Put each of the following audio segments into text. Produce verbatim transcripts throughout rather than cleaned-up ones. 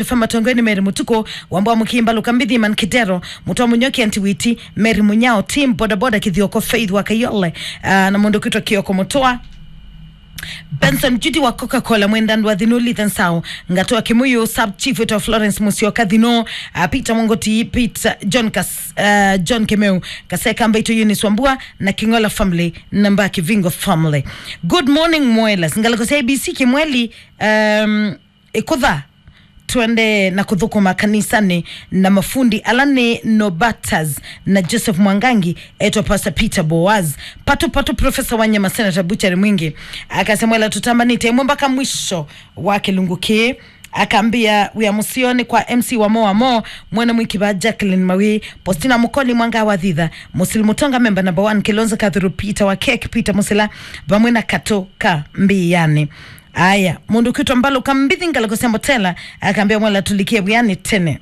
F M atongoi nĩ Mary Mũtukũ, Wambua Mũkimba, Luka Mbithi, Man Kidero, Mũtwa Mũnyoki, Anti Witi, Mary Mũnyao, Team Boda Boda, Kithioko, Faith wa Kayole, ah, na mũndũ kwĩtwa Kioko Mũtwa. Benson Judy wa Coca-Cola, Mwenda Ndwathinu, Lithan Sao, Ngatoa Kimuyu, Sub Chief wĩtwa Florence Musyoka Thino, ah, Peter Mongoti, Peter John Kas-, ah, John Kemeu, Kaseka Mbaito, Eunice Wambua, na King'ola family, na Mbaki Vingo family. Good morning, Mwelas. Ngalĩko sya A B C Kimweli, um, Ĩkũtha, twende na kũthũkũma kanisanĩ na mafundi ala nĩ Nobatas na Joseph Mwangangi, etwa Pastor Peter Boaz, Patu Patu, Professor Wanyama, Senator Butchery Mwingi. Akasya, Mwela tũtambanĩte ĩmwe mpaka mwisho wa kĩlungu kĩĩ. Akambĩa wĩa mũseo nĩ kwa M C Wamo Wamo, Mwene Mwiki va Jacqueline Mawi, Postina Mukoli, Mwanga wa Thitha, Musili Mutonga, member number one, Kilonzo Kathuru, Peter wa Cake, Peter Musila, vamwe na Kato ka Mbĩanĩ. Aya, mũndũ kwĩtwa Mbalu Kambithi, ngalĩko sya Mbotela, akambĩa, Mwela tulikie wĩanĩ tene.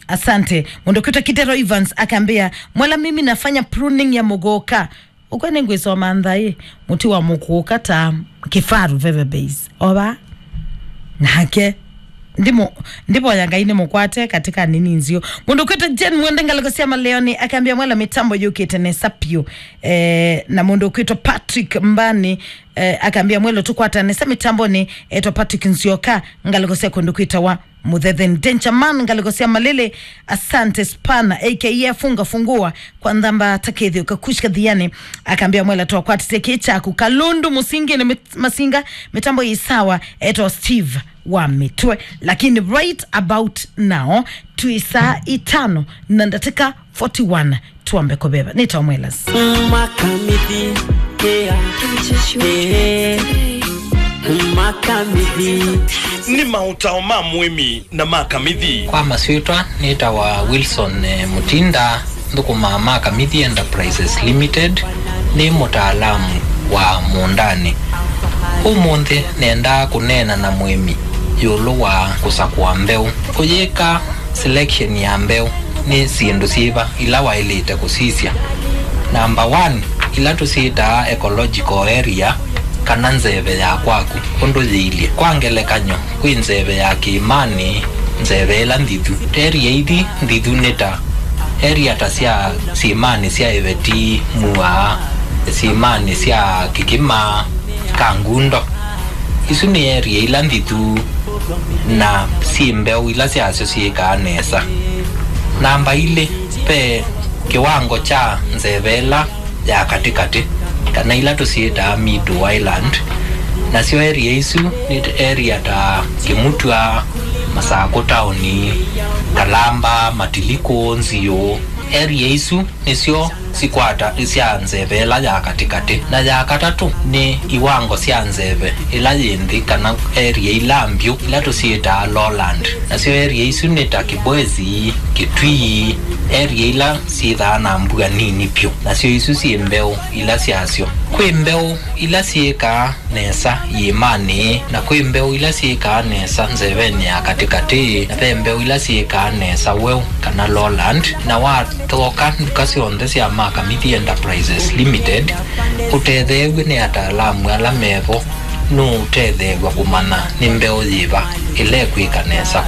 Asante. Mũndũ kwĩtwa Kidero Evans akambĩa, Mwela, mimi nafanya pruning ya mũgũka. Ũkwe nĩngwĩsoma nthaĩ, mũtĩ wa mũkũka ta kĩfaru veve base. Ova. Nake. Ndimo, ndivoya Ngai nĩmũkwate katika nini nzio. Mũndũ kwĩtwa Jane Mwende, ngalĩko sya Maleoni, akambĩa, Mwela, mĩtambo yũkĩte nesa piũ. Eh, na mũndũ kwĩtwa Patrick Mbani, eh, akambĩa, Mwela tũkwatane sa mĩtambonĩ, etwa Patrick Nzioka, ngalĩko sya kũndũ kwĩtawa Mũthetheni. Danger Man, ngalĩko sya Malĩlĩ, asante Spana, A K A Funga Fungua, kwa Nthamba, Takethio Kakushi Kathiani, akambĩa, Mwela twakwatĩte kĩ kyaku. Kalundu Mũsingi nĩ mit-, Masinga, mĩtambo ĩ sawa, etwa Steve wa Mĩtwe. Lakini right about now, twĩ saa itano na ndatĩka forty-one, twambe kũveva. Nĩtawa Mwelas. Makamithi, yeah. Yeah. Makamithi. Nĩ maũtao ma mũĩmi na makamithi. Kwa masyĩtwa, nĩtawa Wilson, eh, Mutinda, nthũkũmaa Makamithi Enterprises Limited, nĩ mũtaalamu wa mũũndanĩ. Ũmũnthĩ nendaa kũneena na mũĩmi ĩũlũ wa kũsakũa mbeũ. Kũyĩka selection ya mbeũ nĩ syĩndũ syĩva ila waĩlĩte kũsisya? Number one, ila tũsyĩtaa ecological area, kana nzeve ya kwaku ũndũ yĩilye. Kwa ngelekany'o, kwĩ nzeve ya kĩĩmanĩ, nzeve ĩla nthithu. Area ithi nthithu nĩ ta area ta sya syĩmanĩ sya Ĩveti, Mua, syĩmanĩ sya Kĩkĩma, Kangundo. Isu nĩ area ila nthithu na syĩ mbeũ ila syasyo syĩkaa nesa. Namba ilĩ, ve kĩwango kya nzeve ĩla ya katĩkatĩ, kana ila tũsyĩtaa middle island. Nasyo area isu nĩ area ta Kĩmutwa, Masakũ taoni, Kalamba, Matilikũ, Nziũ. Area isu nĩsyo sikwata sya nzeve ĩla ya katĩkatĩ. Na ya katatũ nĩ iwango sya nzeve ĩla yĩ nthĩ, kana area ila mbyũ, ila tũsyĩtaa lowland. Nasyo area isu nĩ ta Kĩbwezi, Kĩtui, area ila syĩthaa na mbua nini vyũ. Nasyo isu syĩ mbeũ ila syasyo. Kwĩ mbeũ ila syĩkaa nesa iĩmanĩ, na kwĩ mbeũ ila syĩkaa nesa nzevenĩ ya katĩkatĩ, na ve mbeũ ila syĩkaa nesa weũ kana lowland. Na wathoka nduka syonthe sya Makamithi Enterprises Limited, ũtetheew'e nĩ ataalamu ala mevo, nũũtetheew'a kũmanya nĩ mbeũ yĩva ĩla ĩkwĩka nesa kwa